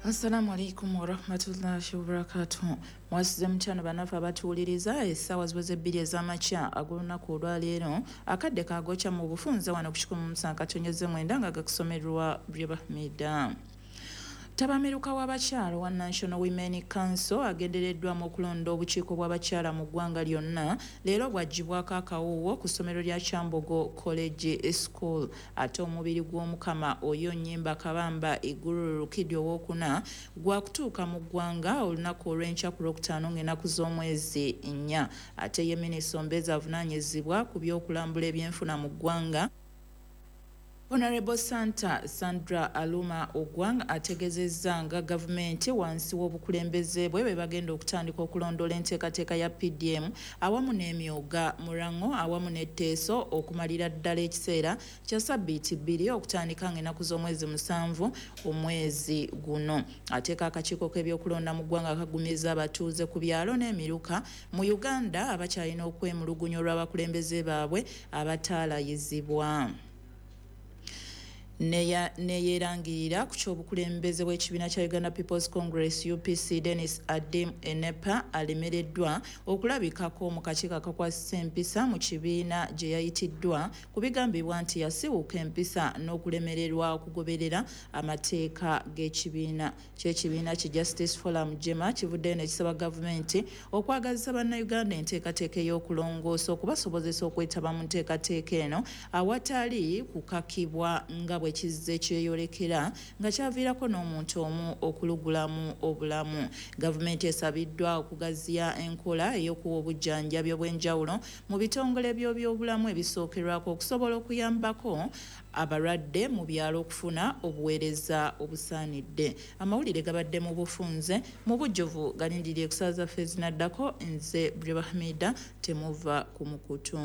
Assalamu alaikum warahmatullahi wabarakatuh. Mwasuze mutyano banafe abatuwuliriza. Essaawa ziweze 2 ez'amakya ag'olunaku olwaleero, akadde kagokya mu bufunze wano ku 107.9 nga gakusomerwa Bribahmida. Ttabamiruka w'abakyala wa National Women Council agendereddwamu okulonda obukiiko bw'abakyala mu ggwanga lyonna leero bwaggyibwako akawuuwo ku ssomero lya Kyambogo College School. Ate omubiri gw'Omukama Oyo Nnyimba Kabamba Iguru Rukidi owookuna gwakutuuka mu ggwanga olunaku olw'enkya ku Lwokutaano ng'ennaku z'omwezi 4. Ate ye minisita omubeezi avunaanyizibwa ku by'okulambula ebyenfuna mu ggwanga, Honorable Santa Sandra Aluma Ogwang, ategezezza nga gavumenti wansi w'obukulembeze bwe bwe bagenda okutandika okulondoola enteekateeka ya PDM awamu n'emyoga Murango awamu n'etteeso okumalira ddala ekiseera kya sabbiiti 2 okutandika ng'ennaku z'omwezi 7 omwezi guno. Ateeka akakiiko k'ebyokulonda mu ggwanga kagumiza abatuuze ku byalo n'emiruka mu Uganda abakyalina okwemulugunya olw'abakulembeze baabwe abataalayizibwa. Neyerangirira ku ky'obukulembeze bw'ekibiina kya Uganda People's Congress UPC, Dennis Adim Enepa alemereddwa okulabikako mu kakiiko akakwasisa empisa mu kibiina gye yayitiddwa ku bigambibwa nti yasiwuuka empisa n'okulemererwa okugoberera amateeka g'ekibiina ky'ekibiina ki Justice Forum JEMA kivuddeyo ne kisaba gavumenti okwagazisa bannayuganda enteekateeka ey'okulongoosa okubasobozesa okwetaba mu nteekateeka eno awatali kukakibwa nga bwe kizze kyeyolekera nga kyaviirako n'omuntu omu okulugulamu obulamu. Gavumenti esabiddwa okugaziya enkola ey'okuwa obujjanjabi obw'enjawulo mu bitongole by'obyobulamu ebisookerwako okusobola okuyambako abalwadde mu byalo okufuna obuweereza obusaanidde. Amawulire gabadde mu bufunze mu bujjuvu, galindirire ku ssaawa zaffe ezinaddako. Nze Bribahmida, temuva ku mukutu.